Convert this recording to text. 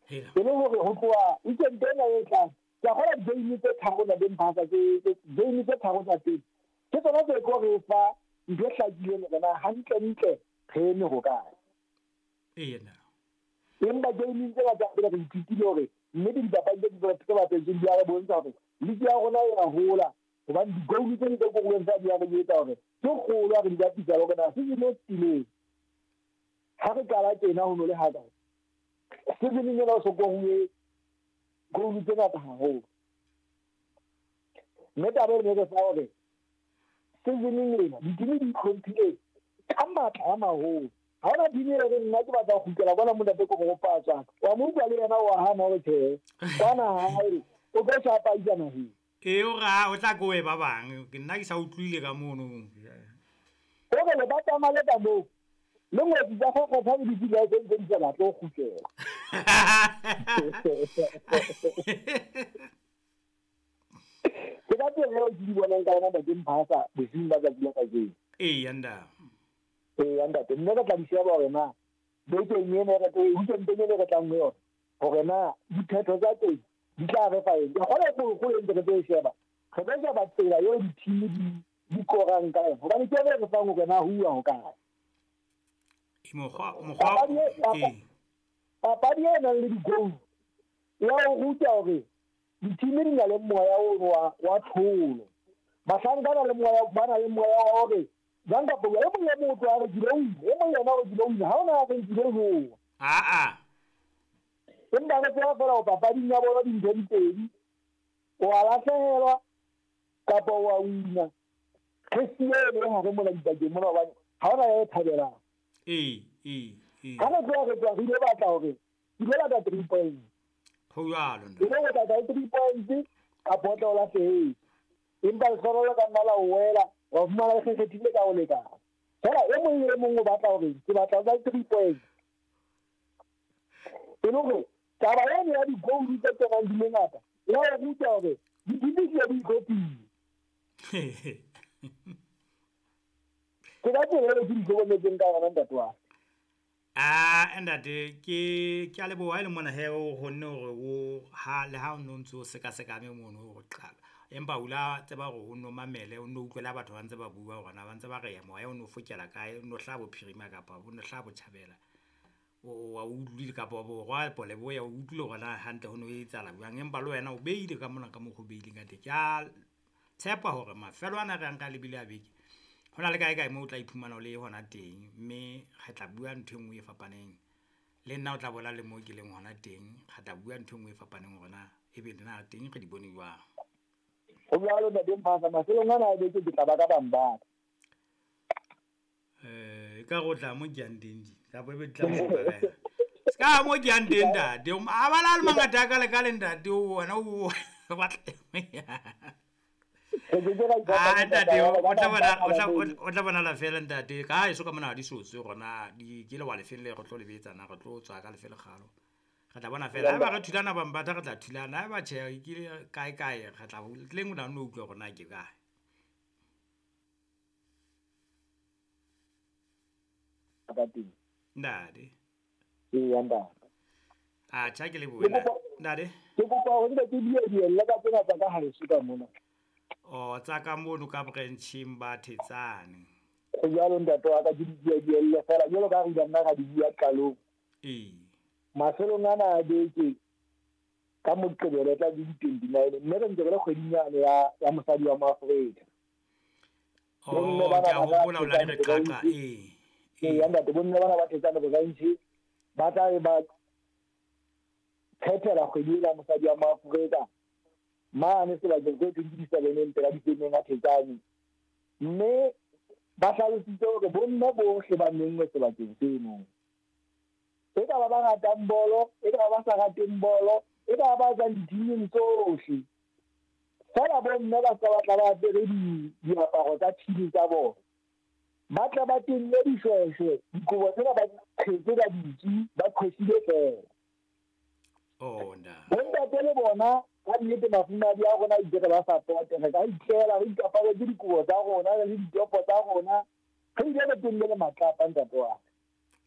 E le hore ho tloha weekend ena e tlang, ke a kgolwa di-game tse tharo Ntate Mphasa, tse game tse tharo tsa pele ke tsona tse tlo re fa ntho e hlakileng hore na hantle-ntle re eme hokae. Empa gameng tsena tsa pele re ithutile hore nnete dipapadi tse tse bapetsweng di a re bontsha hore league ya rona e a hola, hobane di-goal tse tse koruweng tsa di a re etsa hore ke kgolo ha re di bapisa le hore na season e fetileng ha re qala tjena ho no le hakae. Seasoneng ena o so koruwe goal tse ngata haholo. Mme taba e ne re fa hore seasoneng ena ditimi di itlhomphile ka matla a maholo. Ha hona team e reng nna ke batla ho kgutlela kwana mo ntate ko go patswa. Wa mo utlwa le yena wa hana hore tjhe, kwana hae o tlo shapa isa naheng. Ee, o re o tla koe ba bang, ke nna ke sa utlwile ka mono. O re le ba tsamale ka moo, le ngwetsi tsa kgokgotha le di tse ntse di sa batle ho kgutlela. Ke ka tsela eo ke di bonang ka yona Ntate Mphasa bosiung ba tsatsi la kajeno. Ee, nda. Ee, ntate, mme re tla di sheba hore na bekeng ena re tlo weekendeng ena re tlang ho yona hore na diphetho tsa teng di tla re fa eng. Ke kgolwa kgolo e ntse re tlo e sheba, re tlo sheba tsela eo di-team di korang ka yona, hobane ke yona e re fang hore na ho uwa hokae. Papadi e nang le di-goal ya ho ruta hore di-team di na le moya ono wa tlholo. Bahlanka ba na le moya wa hore jwang kapa jwang, e mong le mong o tlo re ke lo wina, e mong le yena o re ke lo wina, ha hona ya reng ke lo jowa. Aa. Empa re tseba feela hore papading ya bona dintho di pedi, o a lahlehelwa kapa o a wina. Re siye eno e hare mona dipakeng mona hobane ha hona ya e thabelang. Ee, ee, ee. Ha re tloha re tloha re ile batla hore ke ile batla 3 points. Ho jwalo ntate. E le ho batla 3 points kapa o tla o lahlehetse. Empa lehlohonolo ka nna la o wela, wa fumana le kgekgethile ka ho lekana. Feela e mong le e mong o batla hore ke batla ho ba 3 points. E le hore taba eno ya di-goal tse kenang di le ngata ya o ruta hore di-team di di itlhophile. Ke ka tsela eo ke di hlokometseng ka yona ntate wa ka. Ah, ntate, ke a leboha e le mona he o kgonne hore o ha le ha o no ntso sekasekame mono hore qala. Empa o la tseba hore o no mamele, o no utlwela batho ba ntse ba bua hore na ba ntse ba re moya o no fokela kae, o no hlaha bophirima kapa o no hlaha botjhabela. O wa utlwile kapa borwa kapa leboya, o utlwile hore na hantle ho no etsahala jwang. Empa le wena o beile ka mona ka mokgo o beileng ka teng. Ke a tshepa hore mafelo ana re yang ka lebile a beke, ho na le kae kae moo o tla iphumana o le hona teng, mme re tla bua ntho e nngwe e fapaneng. Le nna o tla bona le mo ke leng hona teng, re tla bua ntho e nngwe e fapaneng hore na ebe na teng re di bone jwang. Ho jwalo Ntate Mphasa, mafelong ana a beke ke tla ba ka bang ba. E ka re o tla mo ke yang teng di, kapa ebe di tla mo kae. Se ka mo ke yang teng ntate, a bala le mangata a ka le ka le ntate, wena o batla. Ah, ntate, o tla bonala fela ntate, ka eso ka mona ha di sotswe rona, di ke le wa lefeng le re tlo le betsa na, re tlo tswa ka lefe lekgalo. Re tla bona fela, haeba re thulana Bambatha re tla thulana, haeba tjhe ke kae kae re tla tleng o tla nno utlwa hore na ke kae. Ka teng. Ntate. Ee, ntate. Ah, tjha ke lebohe ntate. Ke kopa hore nke ke dielle ka tsena tsa ka haeso ka mona. Oh, tsa ka mono ka branching ba Thetsane. Ho jwalo ntate wa ka, ke di dielle fela jwalo ka re ile nna ra di bua qalong. Ee. Mafelong ana a beke ka Moqebelo e tla be di 29, mme re ntse re le kgweding yane ya mosadi wa Moafrika. Oh, ke a hopola o la re qaqa, ee. Ee, ntate, bomme bana ba Thetsane branch ba tla be ba phethela kgwedi ena ya mosadi wa Moafrika mane sebakeng se thweng ke di-seveneng pela difemeng a Thetsane. Mme ba hlalositse hore bomme bohle ba menngwe sebakeng seno. E ka ba ba ratang bolo, e ka ba ba sa rateng bolo, e ka ba ba tswang di-team-ing tsohle. Feela bomme ba ska batla ba apere diaparo tsa team tsa bona. Ba tla ba tenne dishweshwe, dikobo tsena ba di qhetse ka ditsi, ba qhwesile feela. Oh, nda. Bontate le bona ka nnete mafumahadi a rona itse re ba support-e, re ka itlela re ikaparetse dikobo tsa rona le ditopo tsa rona, re ile re tenne le matlapa ntate wa ka.